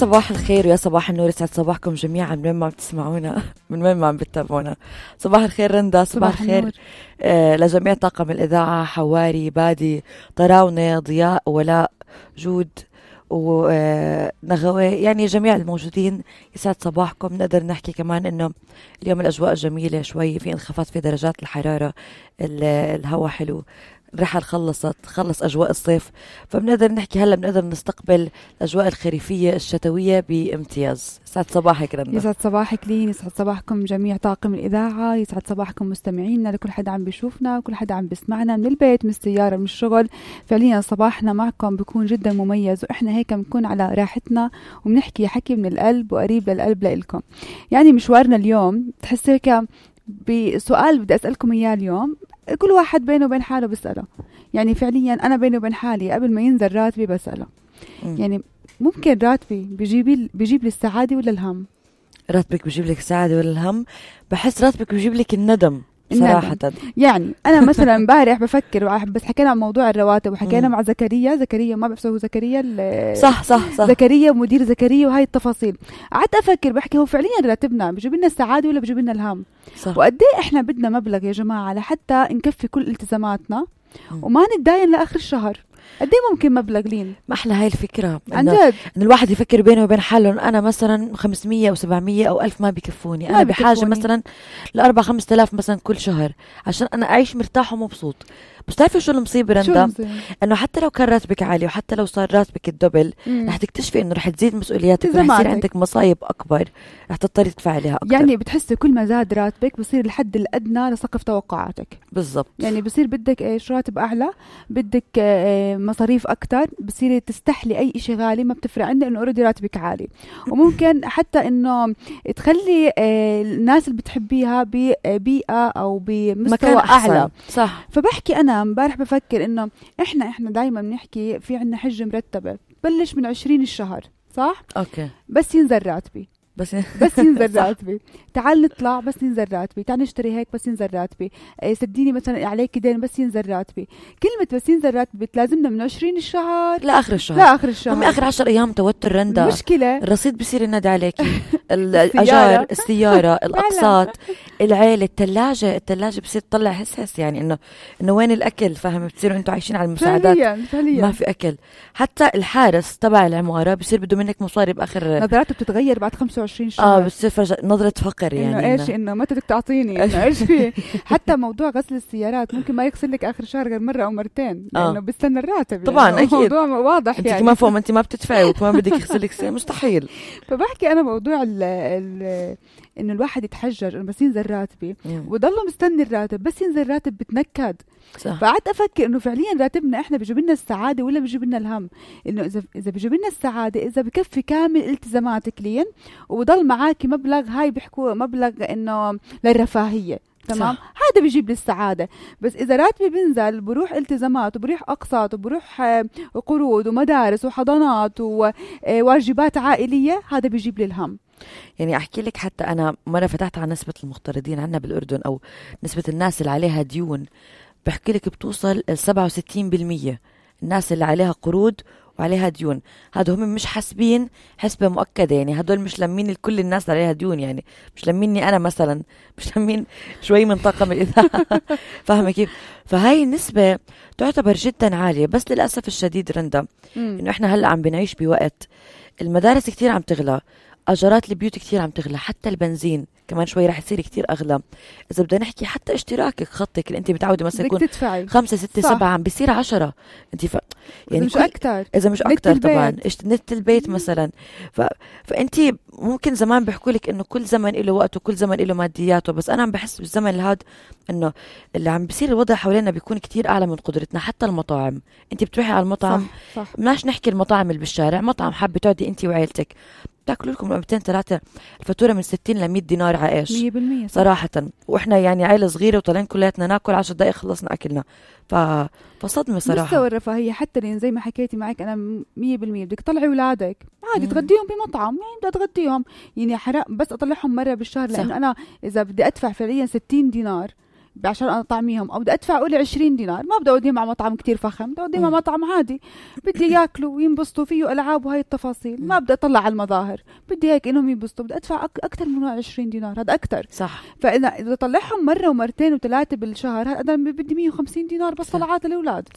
صباح الخير ويا صباح النور، يسعد صباحكم جميعا من وين ما عم تسمعونا، من وين ما عم بتتابعونا. صباح الخير رندا، صباح الخير لجميع طاقم الإذاعة، حواري، بادي، طراونة، ضياء، ولاء، جود ونغوي، يعني جميع الموجودين. يسعد صباحكم. نقدر نحكي كمان انه اليوم الاجواء جميلة شوي، في انخفاض في درجات الحرارة، الهواء حلو، الرحل خلص أجواء الصيف، فبنقدر نحكي هلأ بنقدر نستقبل الأجواء الخريفية الشتوية بامتياز. يسعد صباحك رندا. يسعد صباحك لين، يسعد صباحكم جميع طاقم الإذاعة، يسعد صباحكم مستمعينا، لكل حدا عم بيشوفنا وكل حدا عم بيسمعنا من البيت، من السيارة، من الشغل. فعليا صباحنا معكم بيكون جدا مميز، وإحنا هيك بنكون على راحتنا وبنحكي حكي من القلب وقريب للقلب لإلكم. يعني مشوارنا اليوم تحس هيك بسؤال بدي أسألكم إياه اليوم، كل واحد بينه وبين حاله بسأله. يعني فعليا أنا بيني وبين حالي قبل ما ينزل راتبي بسأله، يعني ممكن راتبي بيجيب لي السعادة ولا الهم؟ راتبك بيجيب لك السعادة ولا الهم؟ بحس راتبك بيجيب لك الندم صراحة. يعني أنا مثلا امبارح بفكر، بس حكينا عن موضوع الرواتب وحكينا مع زكريا ما بعرف هو زكريا صح زكريا ومدير زكريا وهاي التفاصيل. قعدت أفكر بحكي هو فعليا راتبنا بيجيب لنا السعادة ولا بيجيب لنا الهم؟ وقد ايه احنا بدنا مبلغ يا جماعة لحتى نكفي كل التزاماتنا وما نتداين لآخر الشهر؟ قد ايه ممكن مبلغ لين؟ ما أحلى هاي الفكرة عن جد، إن الواحد يفكر بينه وبين حاله. أنا مثلا 500 أو 700 أو 1000 ما بيكفوني، أنا بحاجة مثلا ل4-5 آلاف مثلا كل شهر عشان أنا أعيش مرتاح ومبسوط. بس تعرفي شو المصيبة رندا؟ إنه حتى لو كان راتبك عالي وحتى لو صار راتبك الدبل، رح تكتشفي إنه رح تزيد مسؤولياتك ورح يصير عندك مصايب أكبر، رح تضطري تدفع عليها أكتر. يعني بتحسي كل ما زاد راتبك بصير الحد الأدنى لسقف توقعاتك. بالضبط. يعني بصير بدك إيش؟ راتب أعلى، بدك مصاريف أكتر، بصير تستحلي أي إشي غالي ما بتفرق عندك إنه أوريدي راتبك عالي. وممكن حتى إنه تخلي الناس اللي بتحبيها ببيئة أو بمستوى أعلى. صح. فبحكي أنا امبارح بفكر إنه إحنا دايما بنحكي في عنا حجة مرتبة بلش من 20 الشهر، صح؟ أوكي. بس ينزل راتبي، بس ينزل راتبي، تعال نطلع بس ينزل راتبي، تعال نشتري هيك بس ينزل راتبي، سديني مثلا عليك دين بس ينزل راتبي. كلمة بس ينزل راتبي تلازمنا من 20 الشهر لآخر الشهر. هم آخر 10 أيام توتر رندا، مشكلة الرصيد بصير ينادي عليكي، الأجار، السيارة، الأقساط، العيلة، الثلاجة بصير تطلع هس يعني إنه وين الأكل؟ فاهم؟ بتصيروا أنتوا عايشين على المساعدات، فعليا. ما في أكل. حتى الحارس تبع العمارة بصير بده منك مصاري بآخر، نظراته بتتغير بعد 25 شهر. بتصير نظرة فقر، يعني إنه إيش؟ إنه متى بدك تعطيني؟ إنه إيش فيه؟ حتى موضوع غسل السيارات ممكن ما يغسل لك آخر شهر غير مرة أو مرتين، لأنه بيستنى الراتب. طبعا يعني أكيد، موضوع واضح. أنت يعني كمان فوق ما أنت ما بتدفعي وكمان بدك يغسلك سيارة، مستحيل. فبحكي أنا موضوع إنه الواحد يتحجر إنه بس ينزل راتبي وضله مستني الراتب، بس ينزل راتب بتنكد. فقعدت أفكر إنه فعليا راتبنا إحنا بيجيب لنا السعادة ولا بيجيب لنا الهم؟ إنه إذا بيجيب لنا السعادة، إذا بكفي كامل التزاماتك لين وبضل معاكي مبلغ، هاي بيحكوا مبلغ إنه للرفاهية، تمام، هذا بيجيب لي السعادة. بس إذا راتبي بنزل بروح التزامات وبروح أقساط وبروح قروض ومدارس وحضانات وواجبات عائلية، هذا بيجيب لي الهم. يعني أحكي لك، حتى أنا مرة فتحت عن نسبة المغترضين عنا بالأردن، أو نسبة الناس اللي عليها ديون، بحكي لك بتوصل 67% الناس اللي عليها قروض وعليها ديون. هادو هم مش حاسبين حسبة مؤكدة، يعني هدول مش لمين كل الناس عليها ديون، يعني مش لميني أنا مثلا، مش لمين شوي من طاقم الإذاعة. فاهمة كيف؟ فهاي النسبة تعتبر جدا عالية. بس للأسف الشديد رندا إنه إحنا هلأ عم بنعيش بوقت المدارس كتير عم تغلى، أجارات البيوت كتير عم تغلى، حتى البنزين كمان شوي رح يصير كتير أغلى. إذا بدنا نحكي حتى اشتراكك، خطك اللي أنت متعودة مثلا يكون 5 6 7 عم بيصير 10. أنت يعني مش أكتر، إذا مش أكتر طبعا. نت البيت مثلا. فأنت ممكن زمان بيحكوا لك إنه كل زمن له وقته وكل زمن له مادياته، بس أنا عم بحس بالزمن هذا إنه اللي عم بيصير الوضع حوالينا بيكون كتير أعلى من قدرتنا. حتى المطاعم، أنت بتروحي على المطعم، صح. ماش نحكي المطاعم اللي بالشارع، مطعم حابة تقعدي أنت وعيلتك، تاكلوا لكم 200-3 الفاتوره من 60 ل 100 دينار عايش 100% صراحه. واحنا يعني عائله صغيره وطالعين كلياتنا ناكل 10 دقائق خلصنا اكلنا. فصدمه صراحه. مستوى الرفاهيه حتى لين زي ما حكيتي معك انا 100% بدك تطلعي اولادك عادي تغديهم بمطعم، يعني بدي اتغديهم، يعني حرام بس اطلعهم مره بالشهر، لانه انا اذا بدي ادفع فعليا 60 دينار عشان اطعميهم، او بدي ادفع قولي 20 دينار، ما بدي اوديهم على مطعم كتير فخم، بدي اوديهم على مطعم عادي بدي ياكلوا وينبسطوا فيه العاب وهي التفاصيل، ما بدي اطلع على المظاهر، بدي هيك انهم ينبسطوا، بدي ادفع اكثر من 20 دينار، هذا اكثر صح. فاذا طلعهم مره ومرتين وثلاثه بالشهر، هذا بدي 150 دينار بس طلعات الاولاد.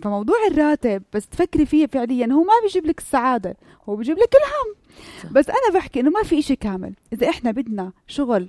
فموضوع الراتب بس تفكري فيه فعليا هو ما بيجيب لك السعاده، هو بيجيب لك الهم. صح. بس انا بحكي انه ما في إشي كامل، اذا احنا بدنا شغل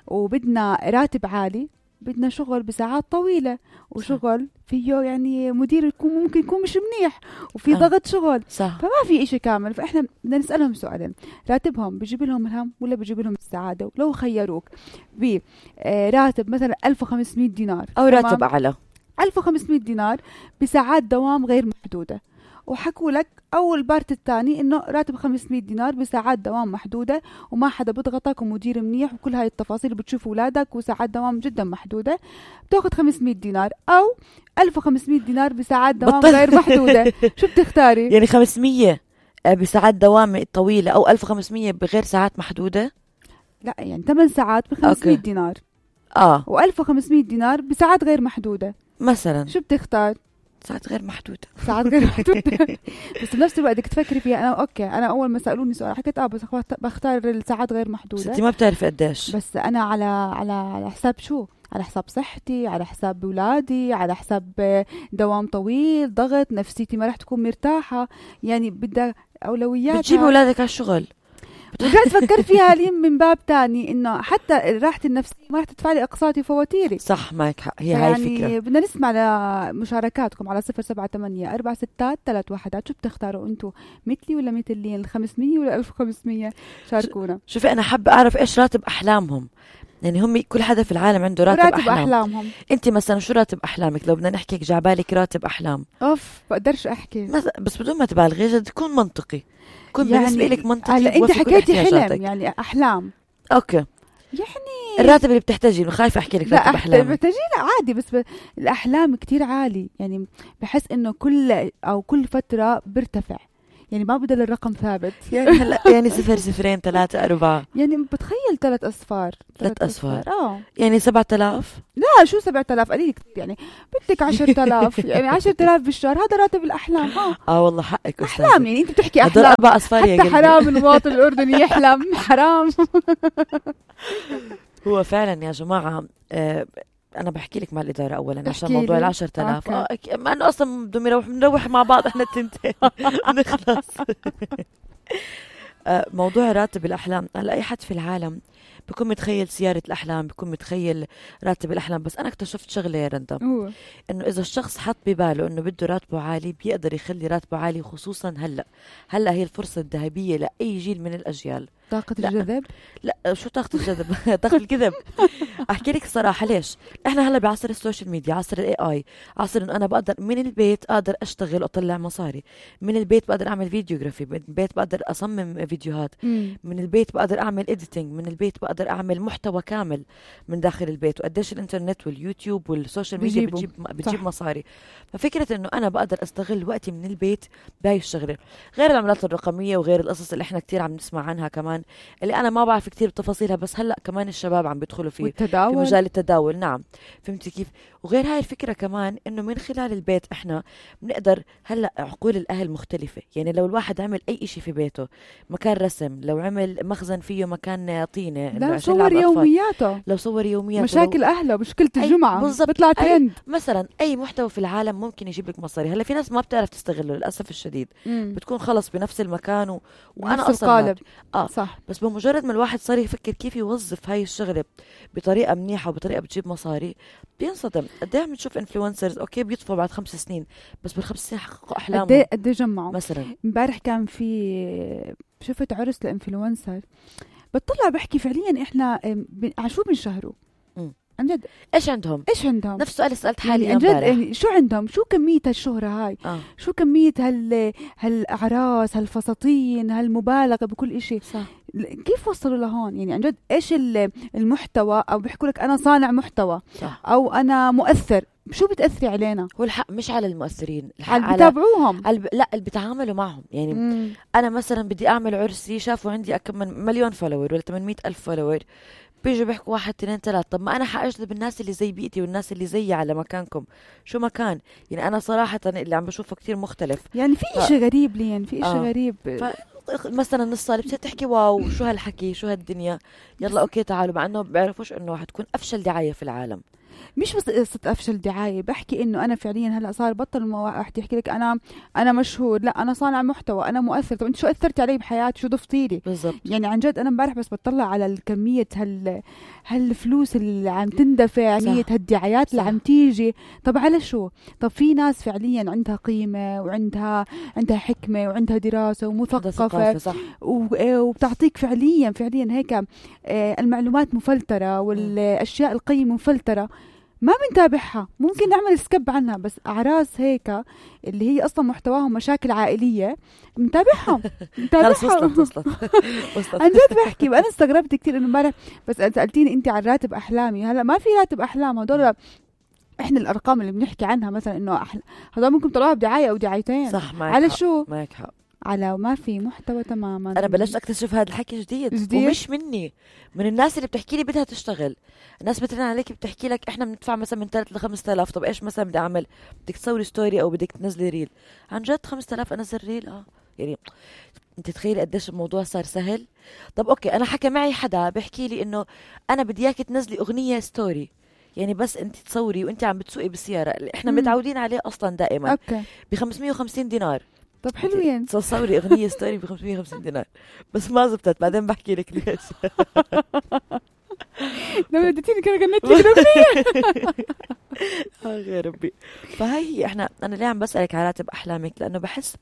وبدنا راتب عالي، بدنا شغل بساعات طويلة وشغل فيه يعني مدير ممكن يكون مش منيح وفي ضغط شغل. صح. فما في إشي كامل. فإحنا بدنا نسألهم سؤالين، راتبهم بيجيب لهم الهم ولا بيجيب لهم السعادة؟ ولو خيروك براتب مثلا 1500 دينار أو راتب أعلى 1500 دينار بساعات دوام غير محدودة، وحكوا لك أول بارت الثاني إنه راتب 500 دينار بساعات دوام محدودة وما حدا بضغطك ومدير منيح وكل هاي التفاصيل، بتشوف أولادك وساعات دوام جدا محدودة، بتاخد 500 دينار أو 1500 دينار بساعات دوام غير محدودة. شو بتختاري؟ يعني 500 بساعات دوام طويلة أو 1500 بغير ساعات محدودة؟ لا يعني 8 ساعات ب 500 دينار و1500 دينار بساعات غير محدودة مثلا. شو بتختار؟ ساعات غير محدودة. ساعات غير محدودة. بس بنفس الوقت بدك تفكري فيها. أنا أوكي، أنا أول ما سألوني سؤال حكيت بس بختار الساعات غير محدودة. بس أنت ما بتعرفي قديش. بس أنا على حساب شو؟ على حساب صحتي، على حساب أولادي، على حساب دوام طويل، ضغط نفسيتي ما رح تكون مرتاحة. يعني بدها أولويات. بتجيب أولادك على الشغل. ورجعت فكر فيها لي من باب تاني إنه حتى راحة النفسية ما رح تدفع لي أقساطي وفواتيري. صح، معك حق. هي هاي الفكرة. يعني بدنا نسمع لمشاركاتكم على 078-4 6 3 1. شو بتختاروا أنتوا؟ مثلي ولا مثلين؟ 500 ولا 1500؟ شاركونا. شوفي أنا حابة أعرف إيش راتب أحلامهم. يعني هم كل حدا في العالم عنده راتب أحلامهم. أنت مثلا شو راتب أحلامك؟ لو بدنا نحكي جعبالك راتب أحلام. بقدرش أحكي بس بدون ما تبالغي، جد تكون منطقي، كون يعني بالنسبة لك منطقي. أنت حكيتي حلم يعني أحلام. أوكي. يعني الراتب اللي بتحتاجيه، خايفة أحكي لك راتب أحلام. بتحتاجيه لا عادي، بس الأحلام كتير عالي. يعني بحس إنه كل فترة بيرتفع، يعني ما بدل الرقم ثابت. يعني هلا يعني 0 2 3 4 يعني بتخيل 3 أصفار. 3 أصفار يعني 7000. لا شو 7000 قليل كتير. يعني بدك 10,000 يعني 10,000 بالشهر، هذا راتب الأحلام. والله حقك أستاذ. أحلام يعني أنت بتحكي أحلام. 4 أصفار حتى حرام المواطن الأردني يحلم. حرام. هو فعلا يا جماعة أنا بحكي لك مع الإدارة أولا عشان موضوع 10,000. ما أنه أصلا بدهم نروح مع بعض إحنا التنتين نخلص. موضوع راتب الأحلام، هلا أي حد في العالم بيكون متخيل سيارة الأحلام، بيكون متخيل راتب الأحلام. بس أنا اكتشفت شغلة يا رندا، إنه إذا الشخص حط بباله إنه بده راتبه عالي، بيقدر يخلي راتبه عالي. خصوصا هلا هي الفرصة الذهبية لأي جيل من الأجيال. طاقة الجذب؟ لا شو طاقة الجذب؟ طاقة الكذب. أحكي لك الصراحة ليش؟ إحنا هلا بعصر السوشيال ميديا، عصر AI، عصر إنه أنا بقدر من البيت أقدر أشتغل وأطلع مصاري، من البيت بقدر أعمل فيديوغرافي، من البيت بقدر أصمم فيديوهات، من البيت بقدر أعمل إديتينج، من البيت بقدر أعمل محتوى كامل من داخل البيت. وقديش الإنترنت واليوتيوب والسوشيال ميديا بتجيب مصاري. ففكرة إنه أنا بقدر أستغل وقتي من البيت بهاي الشغلة، غير العملات الرقمية وغير القصص اللي إحنا كتير عم نسمع عنها كمان، اللي أنا ما بعرف كتير بتفاصيلها، بس هلأ كمان الشباب عم بيدخلوا في مجال التداول. نعم، فهمتي كيف؟ وغير هاي الفكرة كمان إنه من خلال البيت إحنا بنقدر هلأ عقول الأهل مختلفة. يعني لو الواحد عمل أي إشي في بيته، مكان رسم، لو عمل مخزن فيه مكان طينة، لو صور يومياته، لو صور يومياته، مشاكل أهله، مشكلة الجمعة بيطلع ترند مثلا. أي محتوى في العالم ممكن يجيب لك مصاري. هلا في ناس ما بتعرف تستغله للأسف الشديد، بتكون خلص بنفس المكان وأنا أصلا صح. بس بمجرد ما الواحد صار يفكر كيف يوظف هاي الشغلة بطريقة منيحة وبطريقة بتجيب مصاري، بينصدم. قد ايه بنشوف انفلونسرز اوكي بيطفوا بعد 5 سنين، بس بال5 سنين حققوا احلامهم. قد ايه جمعوا. مثلا امبارح كان في شفت عرس لانفلونسر، بتطلع بحكي فعليا احنا شو بنشهروا عن جد. ايش عندهم نفس السؤال سألت حالي يعني عن جد. يعني شو عندهم، شو كمية هالشهرة هاي، شو كمية هالأعراس، هالفساتين، هالمبالغة بكل إشي. صح. كيف وصلوا لهون؟ يعني عن جد ايش المحتوى، او بيحكوا لك انا صانع محتوى. صح. او انا مؤثر. شو بتأثري علينا؟ هو الحق مش على المؤثرين، على بتابعوهم، لا اللي بتعاملوا معهم. يعني انا مثلا بدي اعمل عرسي، شافوا عندي كم من مليون فولور ولا 800,000 فولور، بيجوا بيحكوا 1 2 3. طب ما انا حاجذب الناس اللي زي بيئتي والناس اللي زيي على مكانكم، شو مكان؟ يعني انا صراحه اللي عم بشوفه كتير مختلف. يعني في اشي غريب لي، يعني في اشي غريب. مثلا الصالة بتصير تحكي واو شو هالحكي شو هالدنيا، يلا اوكي تعالوا، مع انه بيعرفوش انه حتكون افشل دعاية في العالم. مش بس قصة أفشل دعاية، بحكي إنه أنا فعليا هلأ صار بطل واحد يحكي لك أنا مشهور، لا أنا صانع محتوى، أنا مؤثر. طب أنت شو أثرتي علي بحياتي؟ شو ضفتي لي؟ بالضبط. يعني عن جد أنا امبارح بس بطلع على الكمية هالفلوس اللي عم تندفع، كمية هالدعايات اللي عم تيجي. طب على شو؟ طب في ناس فعليا عندها قيمة وعندها حكمة وعندها دراسة ومثقفة، وبتعطيك فعليا هيك المعلومات مفلترة والأشياء القيمة مفلترة، ما بنتابعها. ممكن نعمل سكب عنها، بس أعراس هيك اللي هي أصلا محتواهم مشاكل عائلية نتابعهم. وصلت. عن جد بحكي. وأنا استغربت كتير إنه امبارح بس سألتيني أنت عن راتب أحلامي. هلا ما في راتب أحلام، هدول إحنا الأرقام اللي بنحكي عنها مثلا إنه هدول ممكن طلعوها بدعاية أو دعايتين. صح، على شو؟ معك حق. على ما في محتوى تماما. انا بلشت اكتشف هذا الحكي جديد ومش مني، من الناس اللي بتحكي لي بدها تشتغل. الناس بترن عليك بتحكي لك احنا بندفع مثلا من 3 ل 5000. طب ايش مثلا بدي اعمل؟ بدك تصوري ستوري او بدك تنزلي ريل؟ عن جد 5000 انزل ريل؟ يعني انت تخيلي قديش الموضوع صار سهل. طب اوكي، انا حكى معي حدا بيحكي لي انه انا بدي اياك تنزلي اغنيه ستوري، يعني بس انت تصوري وانت عم بتسوقي بالسياره اللي احنا متعودين عليه اصلا دائما، اوكي، ب 550 دينار. طب حلوين. تصوري اغنيه ستوري ب 550 دينار، بس ما زبطت. بعدين بحكي لك ليش. لما اديتيني كان غنيت لك اغنيه. غير ربي. فهي انا ليه عم بسالك على راتب احلامك؟ لانه بحس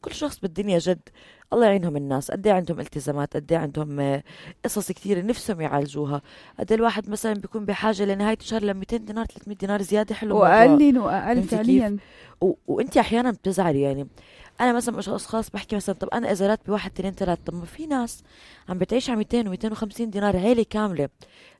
كل شخص بالدنيا جد الله يعينهم الناس، قد ايه عندهم التزامات، قد ايه عندهم قصص كثير نفسهم يعالجوها، قد ايه الواحد مثلا بيكون بحاجه لنهايه الشهر ل 200 دينار 300 دينار زياده. حلو، واقل فعليا. وانت احيانا بتزعلي. يعني انا مثلا مش اشخاص بحكي مثلا طب انا اذا راتبي 1 2 3، طب ما في ناس عم بتعيش على 200 و250 دينار، عيله كامله.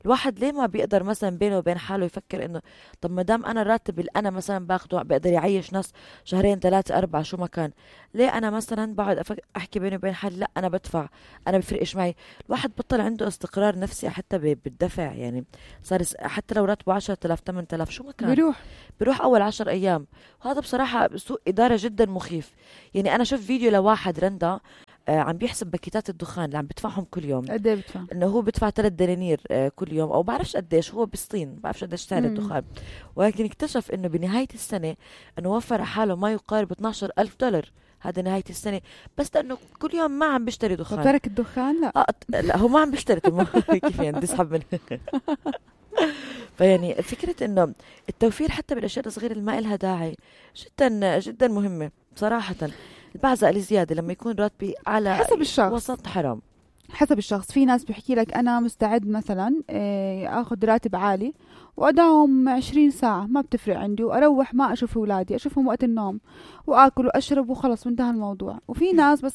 الواحد ليه ما بيقدر مثلا بينه وبين حاله يفكر انه طب ما دام انا الراتب اللي انا مثلا باخده بقدر يعيش ناس 2 3 4 شو ما كان، ليه انا مثلا بقعد احكي بيني وبين حالي لا انا بدفع، انا بفرقش معي. الواحد بطل عنده استقرار نفسي حتى بالدفع. يعني صار حتى لو راتبه 10000 8000 شو ما كان بيروح اول 10 ايام. وهذا بصراحه سوء اداره جدا مخيف. يعني انا شفت فيديو لواحد رندا عم بيحسب باكيتات الدخان اللي عم بدفعهم كل يوم. قد ايه بدفع؟ انه هو بدفع 3 دنانير كل يوم، او بعرفش قديش، هو بالصين بعرفش قديش سعر الدخان. ولكن اكتشف انه بنهايه السنه انه وفر على حاله ما يقارب 12,000 دولار. هذا نهايه السنه، بس لانه كل يوم ما عم بيشتري دخان. ترك الدخان؟ لا لا هو ما عم بيشتري. كيف يعني بدي اسحب منه؟ فيعني فكره انه التوفير حتى بالاشياء الصغيره اللي ما لها داعي جدا جدا مهمه صراحه. البعزة الزيادة لما يكون راتبي على حسب الشخص، وسط حرام. حسب الشخص. في ناس بيحكي لك أنا مستعد مثلا أخذ راتب عالي وأداوم 20 ساعة ما بتفرق عندي، وأروح ما أشوف أولادي، أشوفهم وقت النوم وآكل وأشرب وخلص وانتهى الموضوع. وفي ناس بس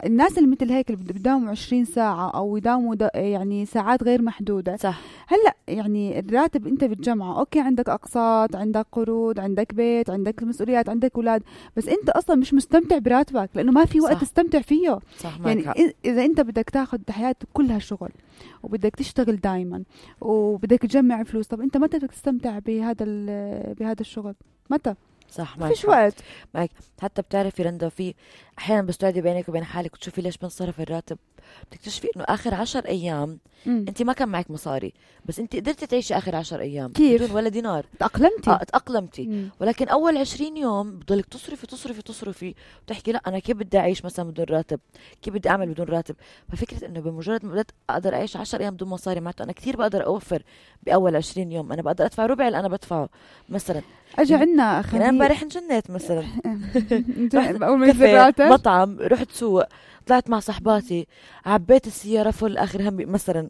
الناس اللي مثل هيك اللي بداوموا 20 ساعة أو يداوموا يعني ساعات غير محدودة. صح. هلأ يعني الراتب أنت بتجمعه، أوكي عندك أقساط، عندك قروض، عندك بيت، عندك مسؤوليات، عندك أولاد، بس أنت أصلا مش مستمتع براتبك لأنه ما في وقت تستمتع فيه. صح. يعني إذا أنت بدك تاخد حياتك كلها شغل وبدك تشتغل دايما وبدك تجمع فلوس، طب أنت متى بدك تستمتع بهذا الشغل؟ متى؟ صح. ما فيش وقت معك. حتى بتعرفي رندا في احيانا بس تقعدي بينك وبين حالك وتشوفي ليش بنصرف الراتب، بتكتشفي انه اخر 10 ايام انت ما كان معك مصاري، بس انت قدرتي تعيشي اخر 10 ايام كيف؟ بدون ولا دينار. تأقلمتي. ولكن اول 20 يوم بضلك تصرفي وتحكي لا انا كيف بدي اعيش مثلا بدون راتب، كيف بدي اعمل بدون راتب. ففكره انه بمجرد ما بدأت اقدر اعيش 10 ايام بدون مصاري، معناته انا كثير بقدر اوفر باول 20 يوم. انا بقدر ادفع ربع اللي انا بدفعه مثلا. اجى عنا خبير. انا امبارح انجنيت مثلا. اول ما ينزل مطعم، رحت سوق، طلعت مع صحباتي، عبيت السياره فل اخر همي مثلا.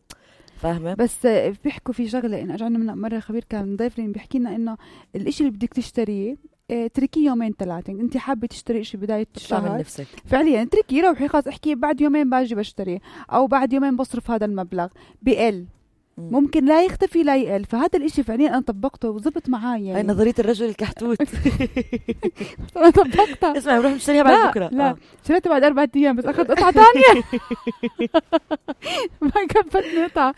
فاهمه؟ بس بيحكوا في شغله، ان اجى عنا مره خبير كان ضيف لي بيحكي لنا انه الاشي اللي بدك تشتريه تركيه 2 3 يومين. انت حابه تشتري شيء بدايه الشهر من نفسك فعليا تركيه، روحي خلاص احكي بعد يومين باجي بشتري، او بعد يومين بصرف هذا المبلغ بقل. ممكن لا يختفي لا يقل. فهذا الاشي فعليا انا طبقته وزبط معي يعني. هاي نظرية الرجل الكحتوت. انا طبقتها. اسمع نروح نشتريها بعد بكرة. لا شريتها بعد 4 أيام بس اخذت قطعة تانية. ما كفتني قطعة،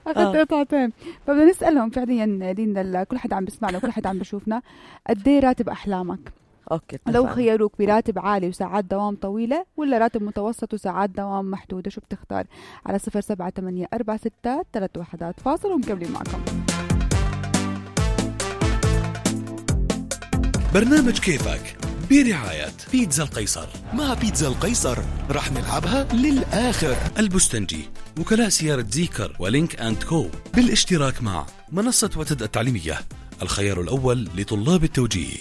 اخذت قطعتين. فبدنا نسألهم فعليا لينا كل حد عم بسمعنا وكل حد عم بشوفنا قد ايه راتب احلامك؟ اوكي. لو خيروك براتب عالي وساعات دوام طويلة ولا راتب متوسط وساعات دوام محدودة، شو بتختار؟ على 078463 فاصل ومكملين معكم. برنامج كيفك برعاية بيتزا القيصر. مع بيتزا القيصر رح نلعبها للآخر. البستنجي، وكلاء سيارة زيكر ولينك أند كو، بالاشتراك مع منصة وتد التعليمية، الخيار الأول لطلاب التوجيه.